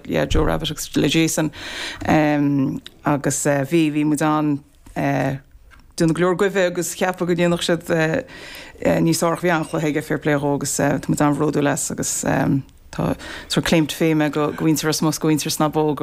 yeah, Joe Rabbitte agus le Jason agus bhí, bhí muid an, déanamh go leor goimhe agus ceapadh go ndéanfadh siad níos fearr ach bhí an-chluiche aige, fair play dhó agus tá muid an-bhródúil as agus tá sort claim to fame é go mhuintir Ros Muc, go mhuintir Sna Bó.